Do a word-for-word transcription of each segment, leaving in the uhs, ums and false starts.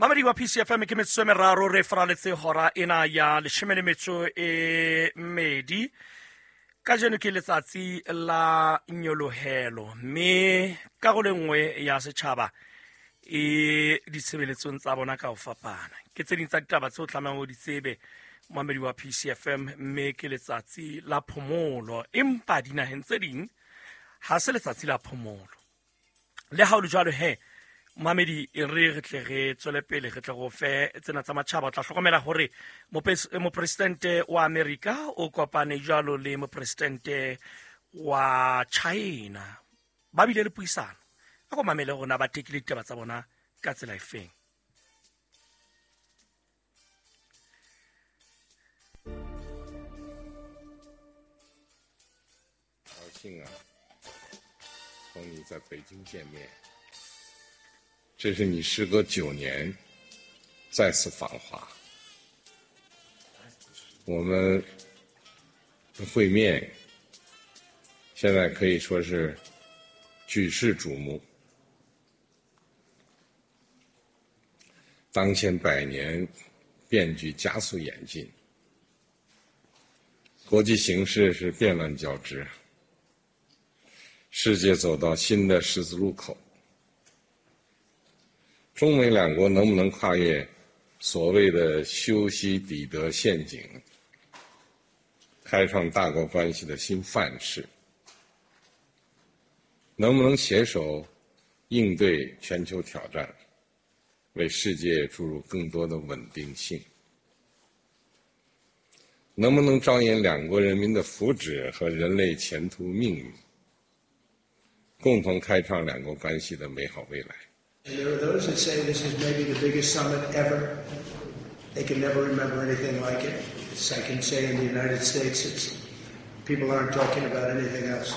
Mamedi wa P C F M ke metsotso e meraro re faraletse hora ena ya leshome le metso e mmedi. Kajeno ke letsatsi la nyolohelo mme karolo e nngwe ya setjhaba e ditshebeletsong tsa bona ka ho fapana. Ke tse ding tsa ditaba tseo tlamehang o di tsebe mamedi wa P C F M, mme ke letsatsi la phomolo, empa dinaheng tse ding ha se letsatsi la phomolo. Le ha ho le jwalo he, mamedi, e re re tle re tswele pele re tle go fe tsena tsa matjhaba. O tla hlokomela hore mopresidente wa Amerika o kopane jwalo le mopresidente wa China, ba bile le puisano. A ko mamele hore na ba tekile ditaba tsa bona ka tsela efeng. 这是你时隔九年再次访华，我们的会面现在可以说是举世瞩目。当前百年变局加速演进，国际形势是变乱交织，世界走到新的十字路口。中美两国能不能跨越所谓的修昔底德陷阱，开创大国关系的新范式？能不能携手应对全球挑战，为世界注入更多的稳定性？能不能着眼两国人民的福祉和人类前途命运，共同开创两国关系的美好未来？ And there are those that say this is maybe the biggest summit ever. They can never remember anything like it. It's, I can say in the United States, it's, people aren't talking about anything else.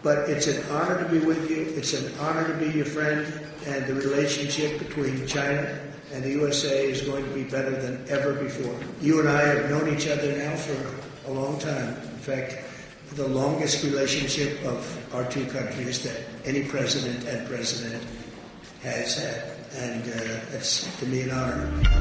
But it's an honor to be with you. It's an honor to be your friend. And the relationship between China and the U S A is going to be better than ever before. You and I have known each other now for a long time. In fact, the longest relationship of our two countries that any president and president has had, and uh, that's to me an honor.